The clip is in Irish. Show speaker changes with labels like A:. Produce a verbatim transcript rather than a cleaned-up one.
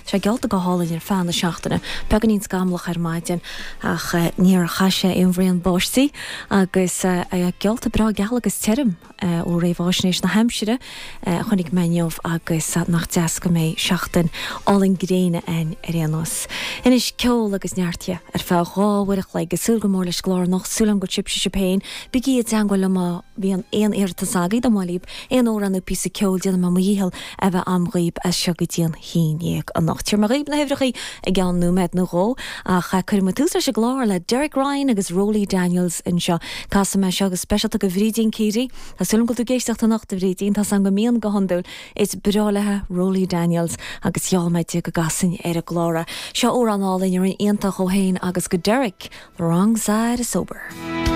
A: Sé geallta go hálainn ar feadh na seachtaine, beagáinín scamallach ar maidin ach níor chaith sé aon bhraon báistí agus geallta breá geal agus tirim ó réamhaisnéis na haimsire a chonaic mé inniu agus nach deas go mbeidh seachtain álainn gréine againn ar aon nós. Anois ceol agus neart dhe ar feadh dhá uair a chloig, ag súil go mór leis an gclár anocht, súil agam go bhfuil sibhse sibh féin, bígí i dteangmháil liom má bhíonn aon iarratas agaibh dá mba mhaith libh aon amhrán nó píosa ceoil déanfaidh mé mo dhícheall a bheith a'm dhaoib as seo go dtí an haon dhéag anocht. Tabharfaidh mé dhaoib na huimhreachaí i gceann nóiméad nó dhó ach cuirfidh muid tús leis an gclár le Derek Ryan agus Rolly Daniels anseo. Casfaidh mé seo go speisialta go Bhrídín Keady. Tá súil agam go bhfuil tú ag éisteacht anocht a Bhrídín, tá 's a'm go mbíonn go hiondúil. Is breá léi Rolly Daniels agus gheall mé di go gcasfainn ar an gclár é. Seo amhrán álainn a rinne iontach dó féin agus go Derek, The Wrong Side of Sober.